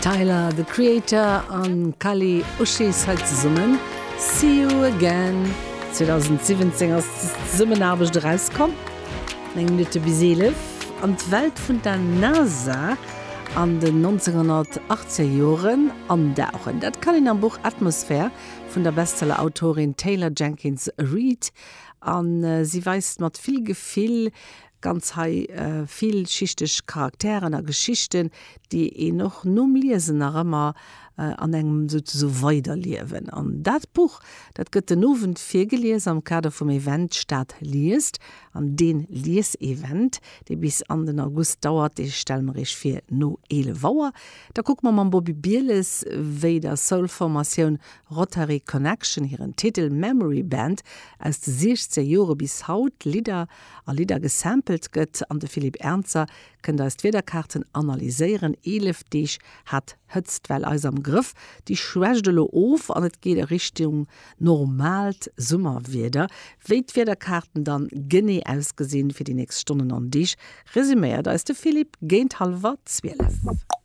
Tyler, the Creator an Kali Uchis hei zesummen, See You Again. 2017 ass des Zesummenaarbecht erauskomm. 9 Minutte bis 11. An d'Welt vun der NASA an den 1980er Joren andauchen. Dat kann een am Buch Atmosphere vun der Bestseller-Autorin Taylor Jenkins Reid. A si weist mat vill Gefill ganz hei villschichteg Charakteren a Geschichten, déi een och nom Liesen nach ëmmer an engem souzesoe weiderliewen. An dat Buch, dat gëtt den Owend virgelies am Kader vum Event Stad liest. An dee Liesevent, dee bis an den August dauert, dee stelle mer iech vir no 11 Auer. Da kucke mer mam Bobby Bieles, wéi der Soul-Formatioun Rotary Connection hiren Titel Memory Band aus de 60er Jore bis haut Lidder a Lidder gesampelt gëtt. An de Philippe Ernzer kënnt eis d'Wiederkaarten analyséieren. 11 Deeg hat d'Hëtztwell eis am Grëff, déi schwächt elo of an et geet a Richtung normaalt Summerwieder. Wéi d'Wiederkaarten dann genee ausgesinn fir déi nächst Stonnen an Deeg, resuméiert eis de Philippe géint hallwer 12.